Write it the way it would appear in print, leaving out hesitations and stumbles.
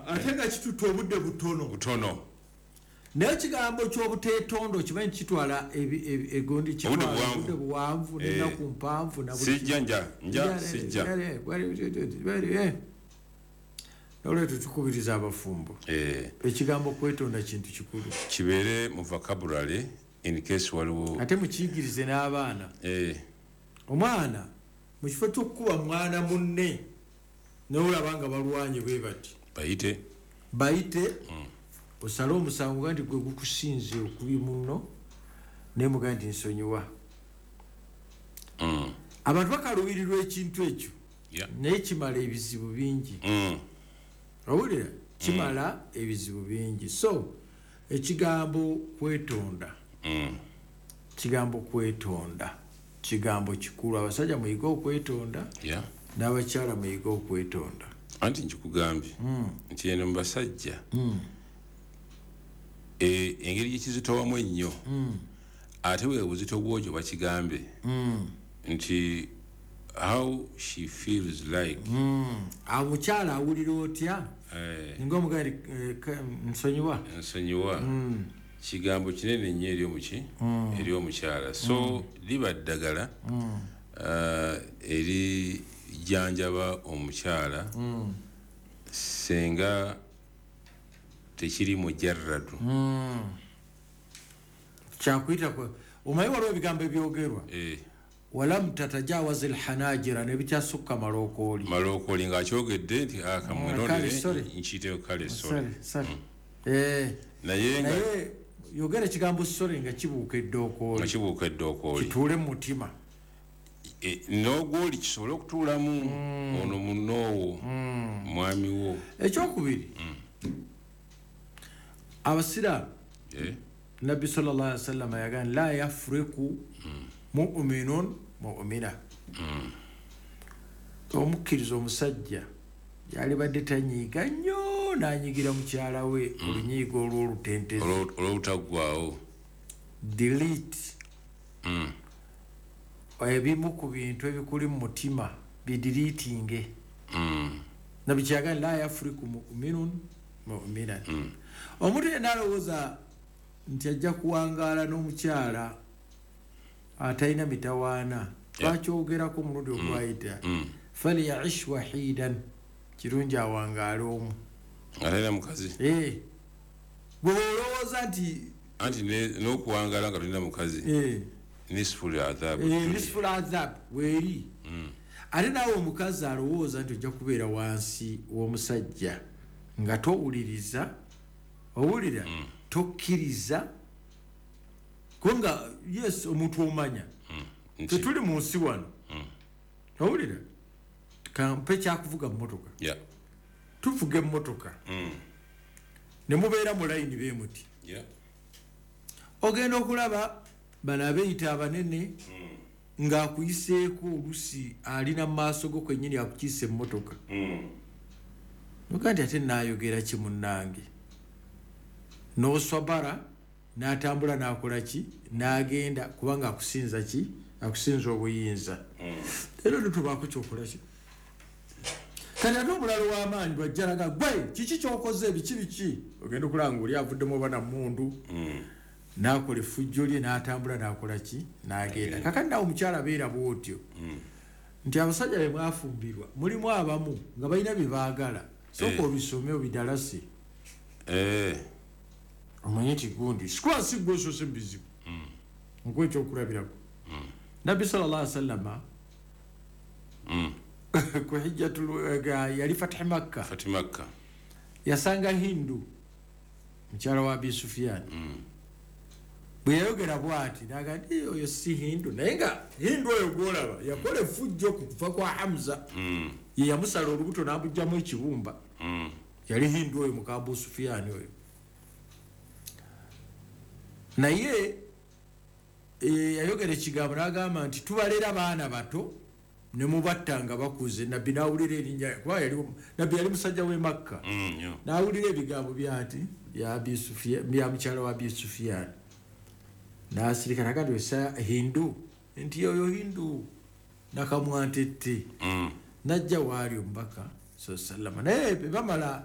Ate nga kitutte obudde butono. Butono. Naye ekigambo ky'obuteetonda okimanyi kitwala egondi, Obudde kitwala buwanvu. obudde buwanvu n'ennaku mpanvu na buli Sijja, nja nja sijja. Nolwekyo tukubiriza abafumbo, ekigambo kwetonda kintu kikulu. Kibeere mu vocabulary in case waliwo. Ate mukiyigirize n'abaana. Omwana mu kifo ky'okukuba mwana munne nolaba nga balwanye bwe bati, Bayite. Bayite, osale omusango ga nti gwe gukusinze okubi muno, naye mugaa nti nsonyiwa. Abantu bakaluubirirwa ekintu ekyo, naye kimala ebizibu bingi. Owulira, kimala ebizibu bingi. So ekigambo kwetonda, kigambo kwetonda kigambo kikulu. Abasajja muyige okwetonda, n'abakyala muyige okwetonda. Anti nkikugambye nti eno mu basajja, engeri gyekizitowamu ennyo, ate bwe buzito bwokyo bakigambe nti how she feels like. Omukyala awulira otya nga omugali nsonyiwa? Nsonyiwa kigambo kinene nnyo eri omuki, eri omukyala. So liba ddagala erijjanjaba omukyala senga tekiri mujarradu. Kyakuyita omanyi waliwo ebigambo ebyogerwa, walam tatajawaza alhanajira, nebikyasukka malookooli. Malookooli ng'akyogedde nti Kale, akamwetondere sorry. Nkiyiteyo kale sorry. Sorry, sorry. Naye nga Naye yogera ekigambo sorry nga kibuuka nga eddookooli, kibuuka eddookooli, kituule mu mutima. N'ogwoli kisobole okutuulamu ono munoowo, mwami wo. Ekyokubiri, abasiraamu, Nabbi sallallahu alaihi wasallam yagamba la yafriku muminun mumina. Omukkiriza omusajja yalibadde tanyiiga nnyo n'anyigira mukyala we olunyiiga olw'olutentezi, Olw'obutaggwawo. Delete ebimu ku bintu ebikuli mu mutima, bideletinge. Nabbi kyagamba la yafriku muminun muminan. Omuntu yenna alowooza nti ajja kuwangaala n'omukyala atalina mitawaana, twakyogerako omulundi ogwayita, falyaish wahidan, kirungi awangaale omu. Nga talina mukazi. Eh. Gwe olowooza nti Anti n'okuwangaala nga tolina mukazi, nisful adhabu. Nisful adhab weeri. Ate naawe omukazi alowooza nti ojja kubeera wansi w'omusajja nga towuliriza, owulira, tokkiriza, kubanga yes, omuntu omanya Nti tetuli mu nsi wano. Owulira, kampe kyakuvuga mmotoka. Tuvuga emmotoka ne mubeera mu layini beemuti, ogenda okulaba bano abeeyita abanene ng'akuyiseeko olusi alina mu maaso go kwennyini akukiisa emmotoka, noga nti ate naayogera ki munnange, n'oswabara n'atambula n'akola ki n'agenda, kubanga akusinza ki, akusinza obuyinza. Era notobaako kyokola ki. Kati ate omulalo w'amaanyi bwajjalaga gwe kiki kyokoze, biki biki, ogenda okulaba nga oli avuddemu oba namundu n'akola effujjo lye n'atambula n'akola ki n'agenda. Kakati nawe omukyala beera bwotyo nti abasajja be mwafumbirwa mulimu abamu nga balina bye baagala, sooka obisome obidalase, omanye nti gundi sikuba si gwe osoose mu bizibu. Nkuwa ekyokulabirako, Nabbi sallallahu alaihi wasallama ku hijjatul yali fatihi Makka, Fati Makka. Yasanga Hindu mukyala wa Abi Sufiyani. Bwe yayogera bwati naga nti "Eh, oyo si Hindu." Naye nga Hindu oyo gwolaba yakola effujjo ku kufa kwa Hamza, ye yamusala olubuto n'amugjamu ekibumba. Yali Hindu oyo muka Abu Sufiyani oyo. Naye yayogera ekigambo n'agamba nti tubalera baana bato ne mubatta nga bakuze. Nabbi n'awulira erinnya, kuba yali nabbi yali musajja w'e Makka, Nnyo. N'awulira ebigambo byati bya mukyala wa Abi Sufiyani n'asirika, naga nti osa Hindu, nti oyo Hindu nakamwantette. Najja waali omubaka sallama, naye bwe bamala